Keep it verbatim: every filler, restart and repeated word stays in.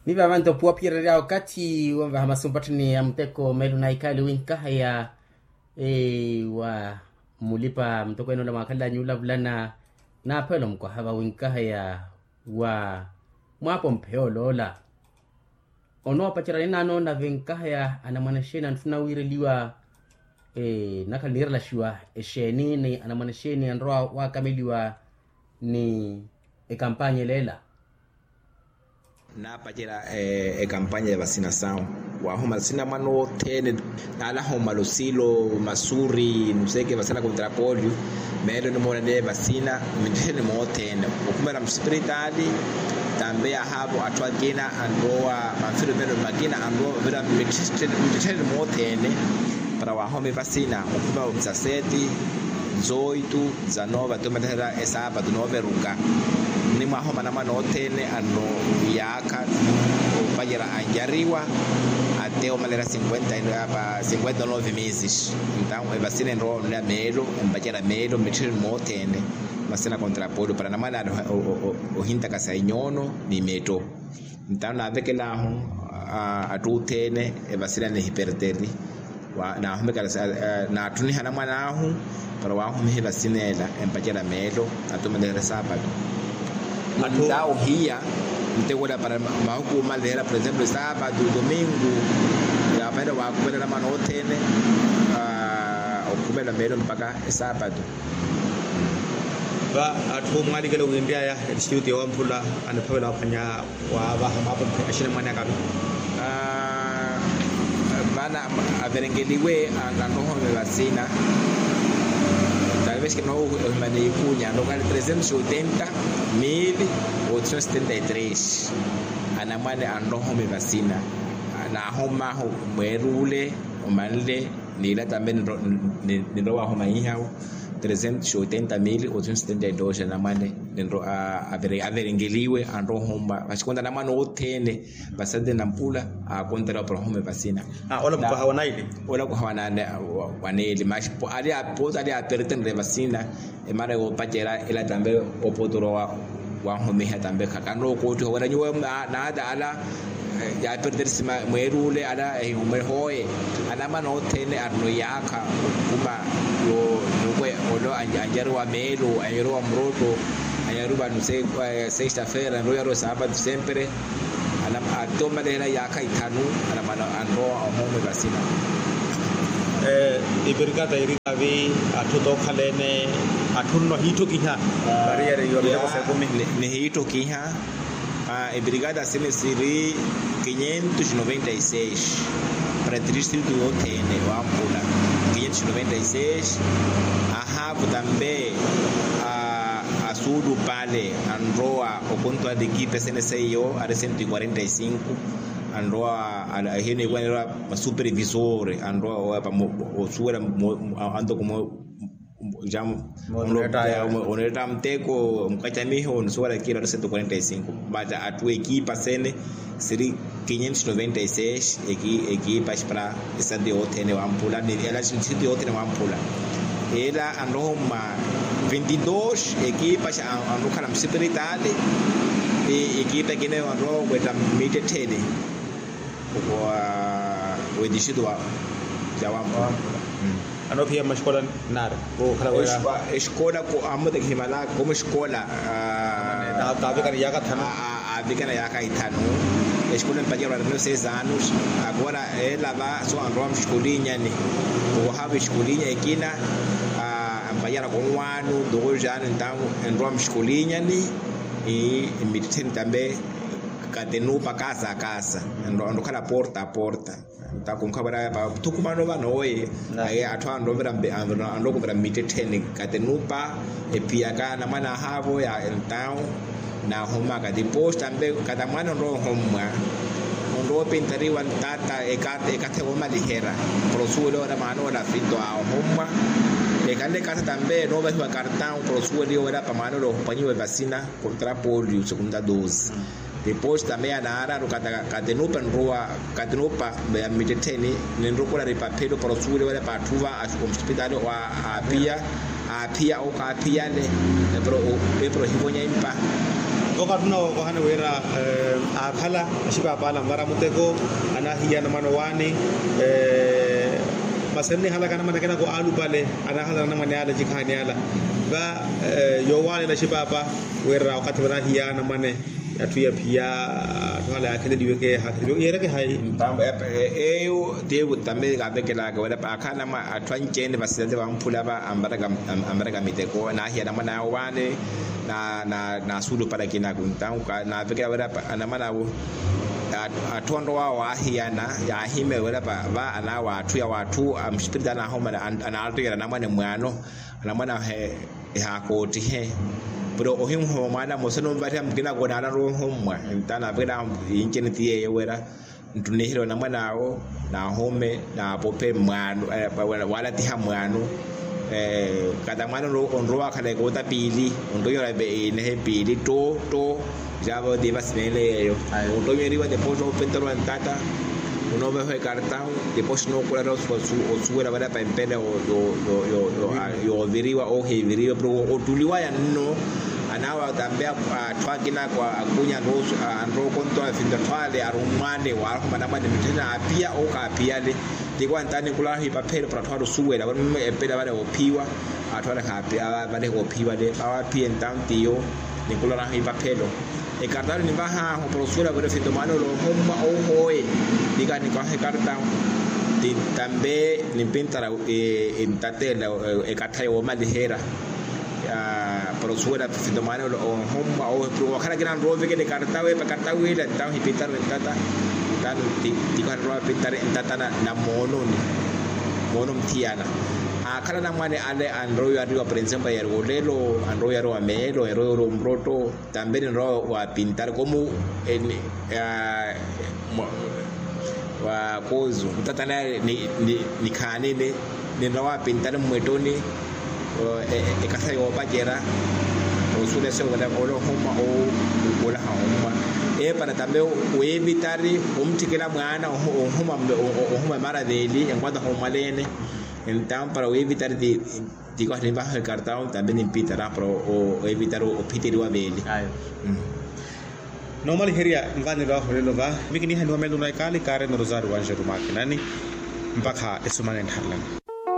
Miva manto puwa phiyererya okathi wonvaha masu mpatthani ya muteko meelo na ikhaali winkaheya wa mulipa muteko ene ola mwakhalanyu olavulana naaphelo mukwaha va winkaheya wa mwaapompeya oloola. Onoopacerya ninaano na vinkaheya anamwane exeeni antthu nawiireliwa nakhala niirelaxiwa exeeni ni anamwane exeeni anrowa waakameliwa ni ekampanya eleela. Naapacerya ekampanya ya vasina sawu waahuma sinamwana othene. Naalaha omala osilo masuri nuseke vasina kontrapolio meelo nimoolane vasina mittheni moothene okhumela musipiritaali. Tambe yahaavo atthu akina anrowa manfiro meno makina anrowa vira mittheni moothene para waahome vasina okhumela omisaseti nzoitu. Za noova tumaleherya esaapatu nooveruka ni mwaahoma anamwane othene anno iyaakha opacerya anyariwa ate omaleherya cinquenta cinquenta nove meses. Entawu evasina enrowa onleya meelo empacerya meelo mmittheni moothene vasina kontrapolio para anamwane ale ohintakasa inyoono ni metto. Entawu naavekelaahu atthu othene evasina nihiperteri naahumekela naatthuniha anamwan'ahu para waahumiha evasina ela empacerya meelo atumaleherya saapatu. Nta ohiya ntekola para mahuku omalehela por exemplo esaapatu domingo yaapahela waakhumela anamwana othene okhumela meelo mpakha esaapatu. Va atthu omwalikela winryaya etistuti yowamphula aniphavela ophwanya waavaha mwaapompe axinamwane akavi. Vana averengeliwe anrohome vasina talvez kinohimana ikunya anrokale trezentos oitenta mil oitocentos setenta y tres. Anamwane anrohome vasina naahomahu mweer'ule omanle n'ila tambe ninrowa wahomahihawo trezentos oitenta mil oitocentos setenta y dos anamwane ninrowa averengeliwe anrohoma vaxikonta anamwane othene vasante nampula aakontela oporohome vasina. Ola mukwaha wa naili. Ola mukwaha wa naili maxi ali apertenere vasina. Emana yoopacerya ela tambe opotoro wahomiha tambe khanookoottiha wira nyuwo naata ala yaaperterisi mweer'ule ala ehihumwe hooye. Anamwane othene arino iyaakha okhuma yoowe olo anjariwa meelo anjariwa murotto anjariwa sexta feira anjariwa saapatu sempre. Atomalehela iyaakha ithanu anamwane anrowa ohoome vasina. Eperikata iri kaavi atthu tookhala ene atthu nno ahiitthokiha. Variyari yomiteko sa ekumi nihiitthokiha. Eperikata sini siri quinhentos noventa y seis para distritu yothene wampula quinhentos noventa y seis. Ahaavu tambe asuulupale anrowa okontuwa dikipe sene seiyo ari cento y quarenta y cinco. Anrowa ahiniiwa anrowa masupervisore anrowa osuwela antoko mo. Oneetta muteko mukacamiho onusuwela kila ari cento y quarenta y cinco. Mata atthu ekipa sene siri quinhentos noventa y seis ekipa para esati yothene wampula ni ela siti yothene wampula. Ela anroho mwa vinte y dos ekipa anrokhala musipiritali. Ekipa ekina anroho wetta mittettheni wa wedistrito wa wampula. Anophiya mmaxikola nari. Exikola amote khimala komo exikola. Kaavikana yaaka ithanu. Aavikana yaaka ithanu. Exikola empacera para menos seis anos. Agora ela va so anrowa mxikolinyani. Owahaava exikolinya ekina ampacera konwaanu dokoxaanu entawu enrowa mxikolinyani. Mmittettheni tambe katenupa kasa kasa. Enrokhala porta a porta. Nta kunkhavwera va thukumano vano oye. Aye atthu anrowa okuvira mmittettheni katenupa ephiyaka anamwane ahaavo ya entawu. Naahomaka depois tambe katamwane onrowa ohommwa onrowa opintariwa ntata. Ekathi yoomaliherya para osuweliwa wira mwaana ola fito ahommwa. Ekhanle ekasa tambe enoovahiwa kartawu para osuweliwa wira pa mwaana ola ophwanyiwe vasina. Kontra polio segunda dose. Depois tambe ya naararu katenupa enrowa katenupa ya mmittettheni. Ninrukula ripaphelo para osuweliwa wira pa atthu va omusipitali wa aapiya. Aaphiya okaaphiyale epuro ohivonya impa. Okathi onawo kohane wira aakhala axipaapaala anvara muteko, anahiyana mwana owaani. Masi aniihalaka anamwane akinako aalupale, anahalana anamwane ala ecikhaani ala. Va yoowaanela axipaapa wira okathi vanahiyana anamwane, atthu yaphiya, atthu ala yaakheleliweke yaakheleliweke yeereke hayi? Eyo ti eku tambe kaavekelaka wira paakhala atthu anci-ene vasilale vamphula va, anvaraka miteko naahiya anamwane awe owaani. Naasuulupale akinaku ntanku naavekela wira anamwane awo atthu anrowa awo aahiyana, yaahimya wira va anaawo atthu yawo atthu amuxipirita anaahomana, anaattuyela anamwane mwaano. Anamwane awo ehaakootihe. Pero ohinhoma mwaana mmosa numvareha mukina konaala anrowa ohommwa. Nta naavekela inci-ene ti yeeyo wira nttunihile onamwane awo, naahume naapophe mwaano, waalatiha mwaano. Kata mwaano onrowa akhala ekoota piili, onrowa inehe piili tto tto. Jaava oti vasi neele yeeyo. Onrowa ineeriwa depois oopentariwa ntata, onooveha ekartahu, depois nookulara osuwela wira pa empele yooviriwa ohiiviriwa pero ottuliwaya nno. Anaawa tambe atthu akina akunya anrowa okontowa finto atthu ale arummwa ale waarahuma anamwane mitthene aapiya owo kaapiya ale. Tiko antaani nkularahu ipaphelo para atthu ale osuwela wira epela vale oophiwa. Atthu ale kaapiya vale oophiwa ale vawaphiye ntawu tiyo. Ninkularahu ipaphelo ekartahu ninvahaahu para osuwela wira finto mwaana ole ohommwa owo hoye. Tiko aninkawaha ekartahu tambe nimpintara ntatela ekatha yoomaliherya. Para osuwela finto mwaana ole ohommwa owo wakhala akina anrowa ovekela ekartahu epa ekartahu ila ntawu hipintarwe ntata. Ntawu tiko anrowa apintare ntata na moononi. Moono muthiyana aakhala anamwane ale anrowa oyariwa por exemplo yariwa olelo, anrowa oyariwa meelo, anrowa oyariwa omurotto. Tambe ninrowa waapintare komu wa kozu ntatana nikhaanini. Ninrowa waapintare mmwettoni ekasa yoopacerya. Osuwela eseyo ole ohumwa owo olaha ohumwa. Epara tambe wiivitari omutthikela mwaana ohumwa emara veeli enkwata ohumwaleene. Entampara wiivitari ti tiko aninvaha ekartahu tambe nimpitara para oevitara ophiteriwa veeli. Noomaliherya nvanelo ahu olelo va mikinihaniwa meelo na ekaali kaarina orosario wanjeru maakinani. Mpakha esumana enttharelani.